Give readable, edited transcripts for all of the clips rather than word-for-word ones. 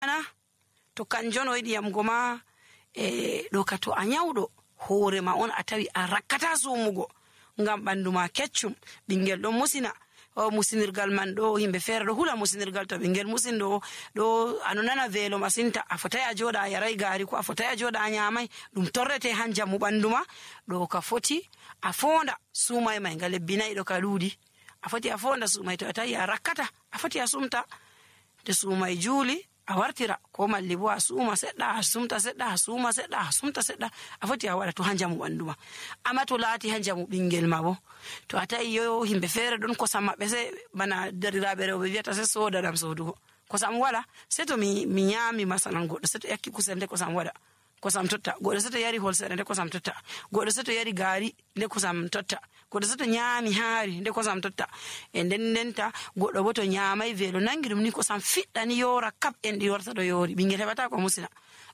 ana to kanjon o yiɗi yamgo ma ɗo ka to a nyawɗo hoore ma on a tawi a rakkata sumugo ngam ɓandu ma keccum, ɓingel ɗon musina musinirgal man ɗo yimɓe feere ɗo hula musinirgal to ɓingel musin ɗo ano nana veelo masinta a fotai a joɗa a yarai gaari ko a fotai a joɗa a nyamai ɗum torrete han jamu ɓandu ma ɗo ka foti a fonda sumai mai nga lebbi nayi ɗo ka ɗuuɗi a foti a fonda sumai to a tawi a rakkata a foti a sumta to sumai juuli a wartira ko malli bo a suma seɗɗa a sumta seɗɗa a suma seɗɗa a sumta seɗɗa a foti a waɗa to ha jamu ɓandu ma amma to laati ha jamu ɓingel ma bo to a tawi yo himɓe feere ɗon kosam maɓɓe se bana dariraɓe rewɓe wiyata se soda ɗam sodugo kosam wala se to mi nyami masalan goɗɗo se to yakki kusel nde kosam waɗa kosam totta goɗɗo se to yari holsere nde kosam totta goɗɗo se to yari gaari nde kosam totta goɗɗo se to nyami haari nde kosam totta e ndenta goɗɗo bo to nyamai veelo nangi ɗum ni kosam fiɗɗani yora kap en ɗi warta ɗo yori ɓingel heɓata ko musina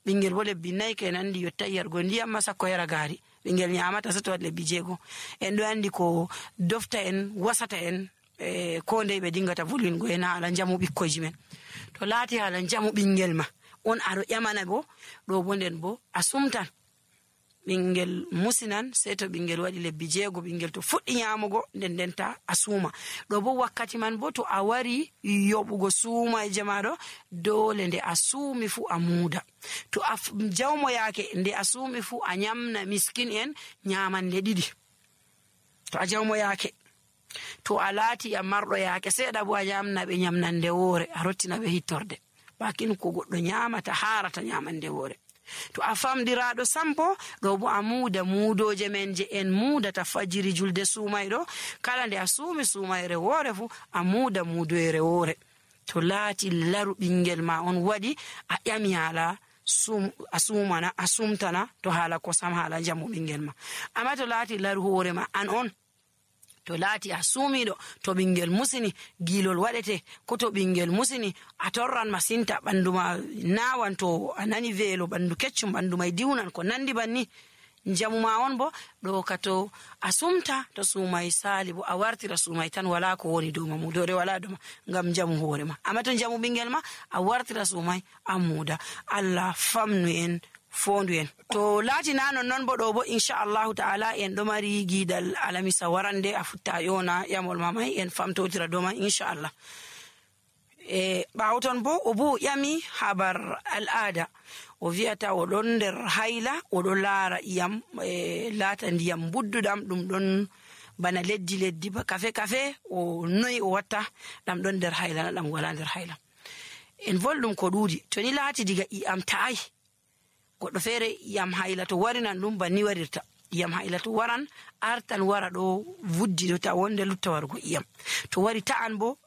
ɓingel bo lebbi nayi ke nandi yotta yargo ndiyam ma sakko yara gaari ɓingel nyamata se to waɗi lebbi 6 en ɗo andi ko dofta en wasata en ko ndey ɓe dingata volwingo en haala jamu ɓikkoyji men to laati haala jamu ɓingel ma on aɗo ƴamana bo ɗo bo nden bo a sumtan ɓingel musinan sei to ɓingel waɗi lebbi 6 ɓingel to fuɗɗi nyamugo ndenta a suuma ɗo bo wakkati man bo to a wari yoɓugo suumaje maɗo dole nde a suumi fu a muuda to a jawmo yaake nde a suumi fu a nyamna miskin en nyamande 2 to a jawmo yaake to a laati a marɗo yaake seeɗa bo a nyamna ɓe nyamnande woore a rottina ɓe hittorde bakin ko goɗɗo nyamata harata nyamande woore to a famdiraɗo sampo ɗo bo a muuda muudoje men je en muudata fajiri julde suumayɗo kala nde a suumi suumayre woore fu a muuda muudoyre woore to laati laru ɓingel ma on waɗi a ƴami haala a sumana a sumtana to haala kosam haala jamu ɓingel ma amma to laati laru hoore ma an on to laati a suumiɗo to ɓingel musini gilol waɗete ko to ɓingel musini a torran masinta ɓandu ma nawan to a nani veelo ɓandu keccum ɓandu mai diwnan ko nandi banni jamu ma on bo ɗo ka to a sumta to suumai saali bo a wartira suumai tan wala ko woni dow ma mudore wala dow ma ngam jamu hoore ma amma to jamu ɓingel ma a wartira suumai a muuda Allah famnu en fondu en to laati na non bo ɗo bo inchallahu ta'ala en ɗo mari giidal alamisa warande a futta yona yamol mamai en famtotira dow ma inchallah ɓawo ton bo o bo ƴami habar al'ada o wi'ata o ɗon nder hayla o ɗo laara iyam laata ndiyam budduɗam ɗum ɗon bana leddi ba kafe o noyi o watta ɗam ɗon nder hayla na ɗam wala nder hayla en volɗum ko ɗuuɗi to ni laati diga iyam ta'ai goɗɗo feere iyam hayla to warinan ɗum banni warirta iyam hayla to waran artan wara ɗo vuddi ɗo ta wonde lutta wargo iyam to wari ta'an bo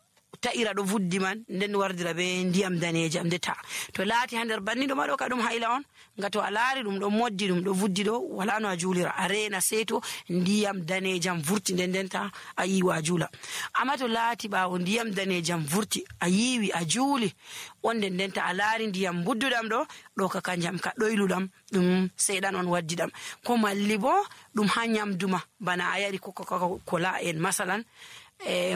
ta'ira ɗo vuddi man nden wardira be ndiyam danejam nde ta to laati ha nder banni ɗo ma ɗo ka ɗum hayla on nga to a laari ɗum ɗo moddi ɗum ɗo vuddi ɗo wala no a juulira a reena seeto ndiyam danejam vurti ndenta a yiwa a juula amma to laati ɓaawo ndiyam danejam vurti a yiwi a juuli on ndenta a laari ndiyam budduɗam ɗo ka kanjam ka ɗoyluɗam ɗum seeɗan on waddi ɗam ko malli bo ɗum ha nyamduma bana a yari kola en masalan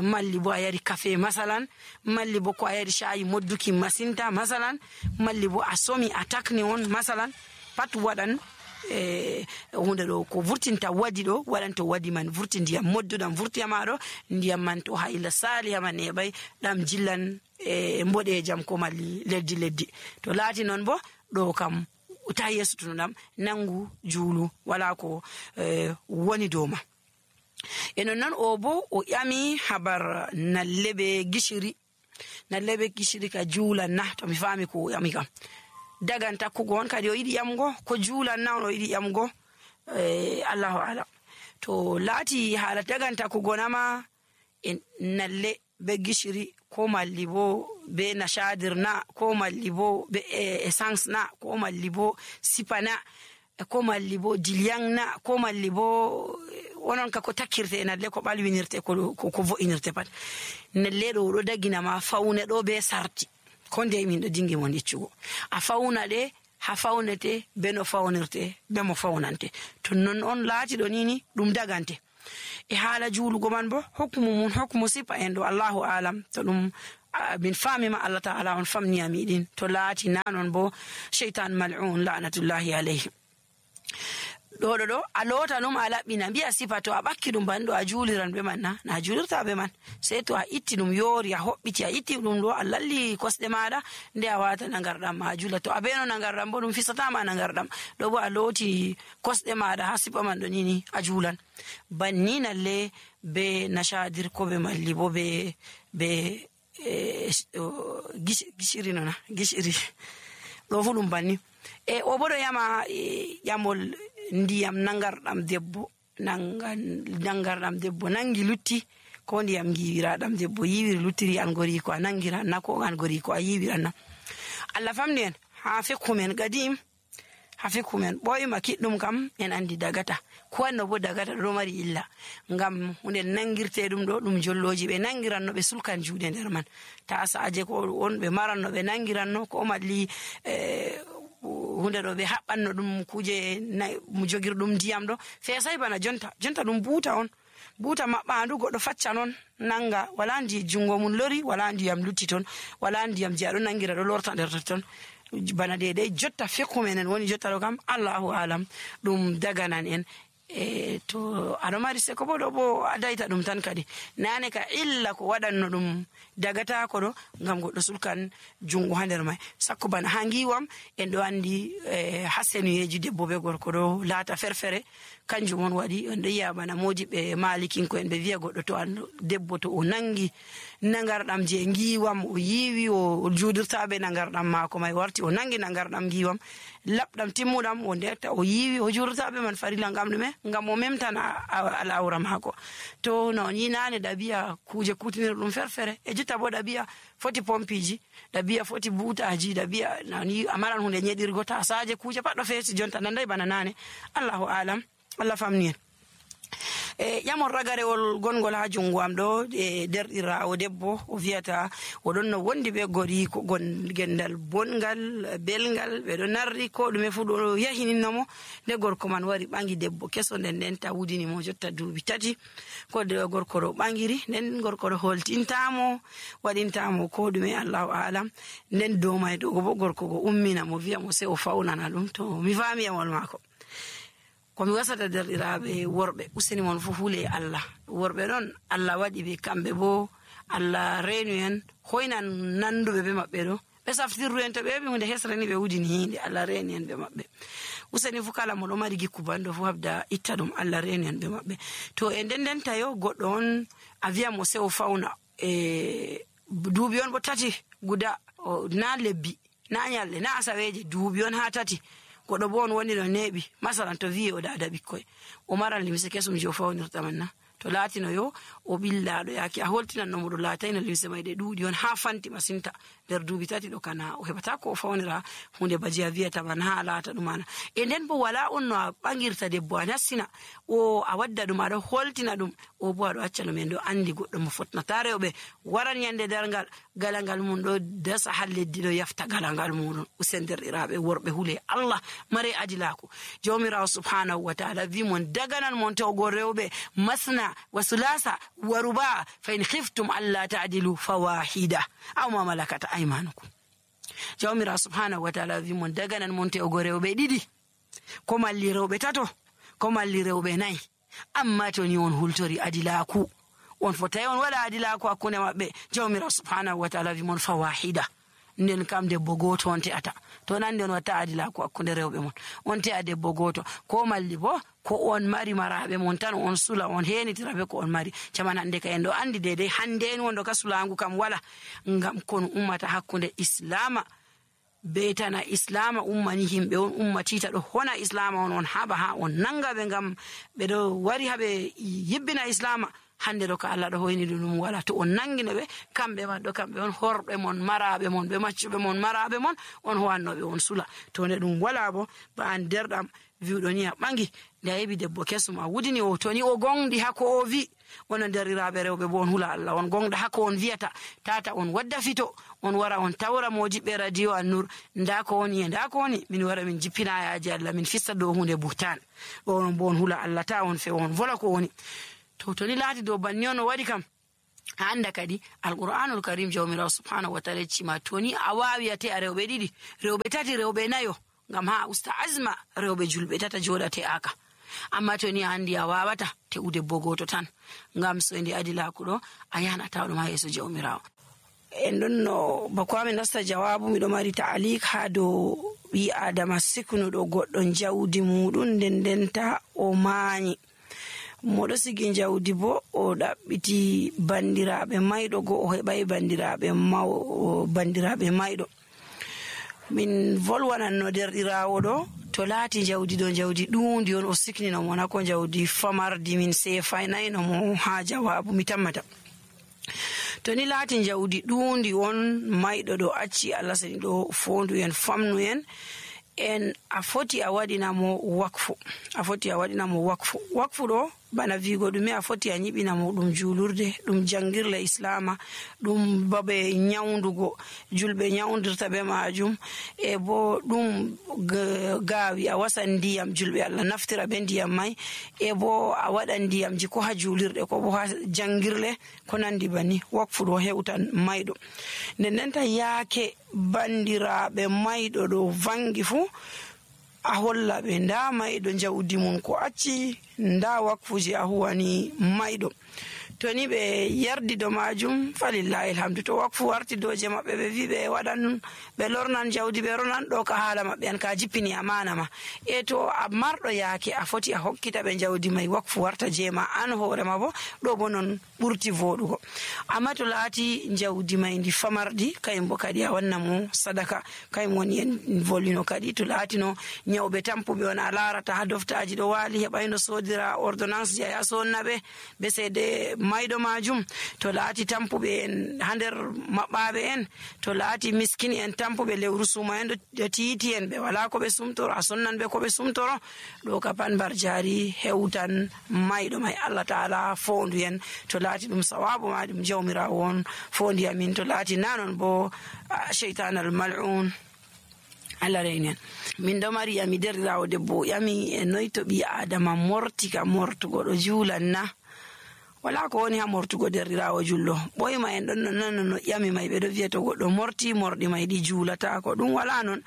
malli bo a yari kafe masalan malli bo ko a yari shayi modduki masinta masalan malli bo a somi a takni on masalan pat waɗan hunde ɗo ko vurtinta wadi ɗo waɗan to wadi man vurti ndiyam modduɗam vurti maɗo ndiyam man to hayla sali haman neɓay ɗam jillan mboɗejam ko malli leddi to laati noon bo ɗo kam ta yesutuno ɗam nangu juulu wala ko woni dow ma enon noon o bo o ƴami habar nallebe gishiri ka juulan na to mi faami ko o ƴami kam dagan takkugo on kadi o yiɗi ƴamgo ko juulan na on o yiɗi ƴamgo allahu alam to laati haala dagan takkugo nama en nalle be gishiri ko malli bo be nashadir na ko malli bo be essence na ko malli bo sipana ko malli bo dilyang na ko malli bo onon ka ko takkirte nalle ko ɓalwinirte ko vo'inirte pat nalle ɗo dagina ma fawne ɗo be sarti ko nde min ɗo dingi mon iccugo a fawna ɗe ha fawnete be no fawnirte be mo fawnante to non on laati ɗo nini ɗum dagante e haala juulugo man bo hokmu sipa en ɗo allahu alam to ɗum min famima Allah ta'ala on famni amidin to laati nanon bo shaytan mal'un la'natullahi alayhi do a lota num a labbina biya sifa to a bakki dum bando a juliran be man na julirta be man sai to a itti dum yori a hobbiti a itti dum do a lalli kosde maada nde a wata nangardam ma jula to a beno nangardam bo dum fisata ma nangardam do bo a loti kosde maada ha sifa man do nini a julan banni nalle be nashadir ko be malli bo be gishiri nona gishiri do fu dum banni o bodo yama yamol ndiyam nangardam debbo nangardam debbo nangi lutti ko ndiyam giwiradam debbo yiwiri luttiri an gori ko nangira na ko an gori ko yiwiran na Allah famni en ha fekumen gadim ha fekumen boyma kiddum kam en andi dagata ko no bo dagata do mari illa ngam hunde nangirte dum do dum jolloji be nangiran no be sulkan juude nder man ta saaje ko on be maranno be nangiran no ko malli hunde do be habbanno dum kuje mu jogirdum ndiyam do fesay bana jonta dum buuta on buuta mabbandu goddo facca non nanga wala ndi jungo mun lori wala ndiyam lutti ton wala ndiyam je ado nangira do lorta nder ton bana de jotta fekku menen woni jotta do kam Allahu alam dum daganan en to ado mari se ko bodo bo adaita dum tan kadi nane ka illa ko wadanno dum dagata ko do ngam goddo sulkan jungo hander mai sakko bana hangiwam en do andi hasenuyeji debbo be gorko do laata ferfere kanjum on wadi on do yiya bana modibe malikin ko en be wiya goddo to an debbo to o nangi nangardam je ngiwam o yiwi o judirta be nangardam mako mai warti o nangi nangardam ngiwam labdam timmudam o ndetta o yiwi o judirta be man farila ngam dume ngam o memtana alawra mako to no ni nane dabiya kuje kutinir dum ferfere e jutta bo dabiya foti pompiji dabiya foti butaji dabiya nani amaran hunde nyedirgo ta saaje kuje paddo fesi jonta nandai bana nane Allahu alam Allah famni yamon ragarewol gongol ha jungo am do derdirawo debbo o viata o don no wondi be gori ko gendal bongal belgal be do narri ko dume fu do yahininno de gorko man wari bangi debbo keso den ta wudini mo jotta duubi tati ko de gorko do bangiri den gorko do holtintamo wadintamo ko dume Allahu alam den do may do go gorko go ummina mo viya mo se o faunana dum to mi fami yamol mako ko mi wasata derdirabe worbe useni mon fu hule Allah worbe don Allah wadi be kambe bo Allah reenu en hoynan nandube be mabbe do be saftirru en to be hunde hesrani be wudini hinde Allah reenu en be mabbe useni fu kala mo do mari gikku bando fu habda ittadum Allah reenu en be mabbe to e den tayo goddo on avia mo se o fauna duubi on bo tati guda na lebbi na nyalle na asaweje duubi on ha tati godo bon woni no nebi masalan to wi'o dada bikkoy o maran limse kesum jo fawnirta manna to latino yo o billado yaki a holtinan no modo latayna limse mayde duudi on ha fanti masinta der duubi tati do kana o hebata ko fawnira hunde bajiya wi'ata man ha lata dumana e den bo wala on no bangirta debbo anassina o a wadda dum ado holtina dum o bo ado acca no men do andi goddo mo fotnata rewbe waran yande dargal galangal mun do dasa halleddi do yafta galangal mun usenderdirabe worbe hule Allah mare adilako jawmirawo subhanahu wa ta'ala vi mon daganan mon to go rewbe masna wa sulasa wa ruba fa in khiftum alla ta'dilu fawahida aw ma malakat aymanukum jawmirawo subhanahu wa ta'ala vi mon daganan mon to go rewbe didi ko malli rewbe tato ko malli rewbe nay amma to ni on hultori adilako on fotay on wala adilako akune mabbe jawmirawo subhanahu wa ta'ala vi mon fawahida nden kam debbo goto on te'ata to nan den wata adila ko akkunde rewbe mon on te'a debbo goto ko malli bo ko on mari marabe mon tan on sula on henitirabe ko on mari caman hande ka en do andi dede hande en wondo ka sulangu kam wala ngam kon ummata hakkunde islama betana islama ummani himbe on ummatita do hona islama on haba ha on nanga be ngam be do wari habe yibbina islama hande do ka Allah do hoyni dum wala to on nangine be kambe ma do kambe on horbe mon marabe mon be maccube mon marabe mon on howannobe on sula to ne dum wala bo ba an derdam viudo ni bangi da yebi debbo kesuma wudini o to ni o gongdi hako o vi wono derirabe rewbe bon hula Allah on gongda hako on viata tata on wadda fito on wara on tawra mojibe radio an-nur ndako woni min wara min jippina yaaji Allah min fissa do hunde buhtan on bon hula Allah ta on fe on vola ko woni to ni laati do banni on wadi kam anda kadi alqur'anul karim jawmirawo subhanahu wa ta'ala cima toni a wawi ate a rewbe didi rewbe tati rewbe nayo ngam ha usta azma rewbe julbe tata jodate aka amma toni andi a wawata te ude bogoto tan ngam so ndi adilaku do a yana tawdo ma yeso jawmirawo en donno bako amin nasta jawabu mi do mari ta'alik ha do bi adama siknudo goddo jawdi mudun dendenta o maani modo sigi jawdi bo o dabbiti bandiraabe maydo go o hebai bandiraabe maydo min volwanan no derdirawo do to laati jawdi do jawdi duundi on o siknina mo na ko jawdi famardi min sefainayno mo ha jawabu mi tammata to ni laati jawdi duundi on maydo do acci Allah sani do fondu en famnu en a foti a wadina mo wakfu do bana vigo dum a foti a nyibina mo dum julurde dum jangirle islama dum babe nyawndugo julbe nyawndirta be majum e bo dum gaawi a wasan ndiyam julbe Allah naftira be ndiyam mai e bo a wadan ndiyam ji ko ha julirde ko bo ha jangirle ko nandi bani wakfu do hewtan maydo nden ta yaake bandiraabe maydo do vangi fu a holla be nda maydo jawdi mun ko acci nda wakfuji a huwani maydo toni be yardi do majum falillahi alhamdu to wakfu warti doje mabbe be vi be wadan be lornan jawdi be ronan do ka hala mabbe en ka jippini amana ma e to a mardo yaake a foti a hokkita be jawdi mai wakfu warta jema an hoore ma bo do bonon burti vodugo amma to laati jawdi mai ndi famardi kayimbo kadi a wanna mo sadaka kayim woni en volino kadi to laati no nyawbe tampube on a larata ha doftaaji do wali hebayno sodira ordonnance ya sonnabe be sede maydo majum to laati tampube en hander mabbabe en to laati miskini en tampube lewru suma en do tiiti en be wala ko be sumtoro asonnan be ko be sumtoro do ka pan barjari hewtan maydo may Allah taala fondu en to laati dum sawabu ma dum jawmira won fondi amin to laati nanon bo shaytan al mal'un Allah reinen min do mari ami derrawo debbo yami e noyto bi adama mortika mortugo do julanna wala ko woni ha mortugo derrirawo jullo boyma en don non no yami may be do vieto goddo morti mordi may di julata ko dum wala non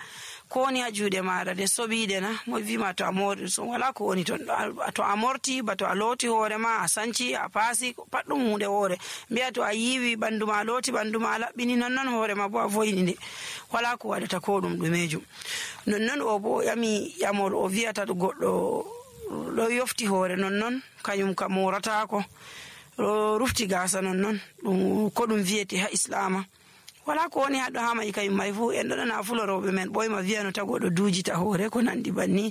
ko woni ha juude maada de sobide na mo vima to amori so wala ko woni ton to amorti ba to a loti hore ma a sanci a pasi paddum hunde hore biya to a yiwi banduma loti banduma labbini non hore ma bo a voyini de wala ko wadata ko dum dumejum non o bo yami yamol o viata do goddo do yofti hore non kanyum ka morata ko rufti gasa non ko dum viete ha islama wala ko woni hado ha mai kay mai fu en do na fulorobe men boyma viano tago do dujita hore ko nandi banni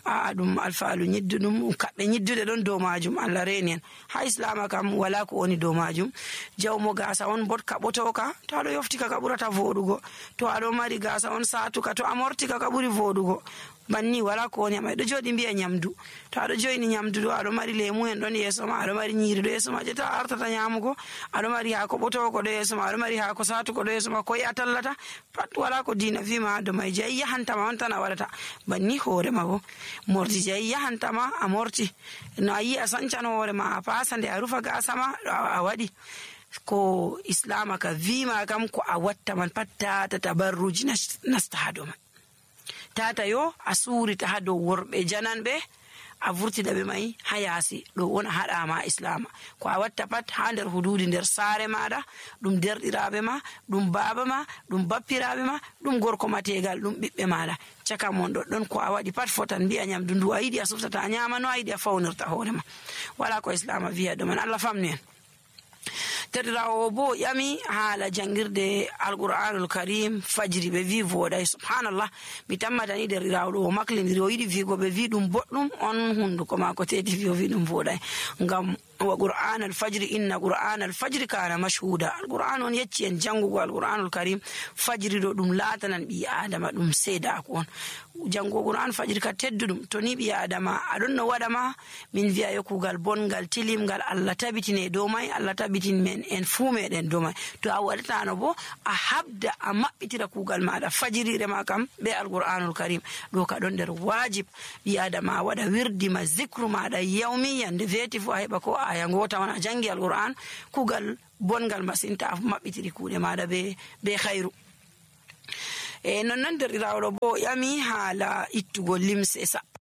a dum alfaalu nyiddudum kabbe nyiddude don do majum Allah renen ha islama kam wala ko woni do majum jawmo gasa on bot kaboto ka to ado yofti ka burata vodugo to ado mari gasa on satu ka to amorti ka buri vodugo banni wala ko woni mai do jodi biya nyamdu to ado joyni nyamdu do ado mari lemu en don yeso ma ado mari nyiri do yeso ma je ta artata nyamugo ado mari ha ko boto ko do yeso ma ado mari ha ko satu ko do yeso ma ko atallata pat wala ko dina vima do mai je yahanta ma on tan wadata banni hore ma bo morti je yahanta ma amorti no ayi asancan hore ma pasande a rufa ga sama a wadi ko islama ka vima kam ko a watta man patta ta tabarruji nasta hado man tata yo asuri ta hado worbe jananbe a vurtida be mai hayasi do wona hada ma islam ko a watta pat ha der hududi der sare maada dum derdirabe ma dum baba ma dum bappirabe ma dum gorko mategal dum bibbe maada caka mon do don ko a wadi pat fotan bi'a nyam dundu ayidi asufta nyama no ayidi fawnirta hore ma wala ko islam wi'a do man Allah famni tedirawo bo yami hala jangirde alquranul karim fajri be vi voda subhanallah mi tammata ni derirawo do maklindiri o yidi vi go be vi dum boddum on hundu ko ma ko tedi vi dum voda ngam wa qur'an al-fajr inna qur'an al-fajr kana mashhuda al-qur'an on yecci en jangugo al-qur'anul karim fajri do dum latanan bi adama dum seda ko on jango qur'an fajri ka teddudum to ni bi adama adon no wada ma min viya yokugal bongal tilimgal Allah tabitine do mai Allah tabitin men en fume den do mai to a wadata no bo a habda a mabbitira kugal maada fajiri re ma kam be al-qur'anul karim do ka don der wajib bi adama wada wirdi ma zikru maada yawmiyan de veti fu heba ko aya ngota on a jangi alquran kugal bongal masinta mabbitiri kuude maada be khairu. Non derɗirawo ɗo bo yami haala ittugo limse sappa.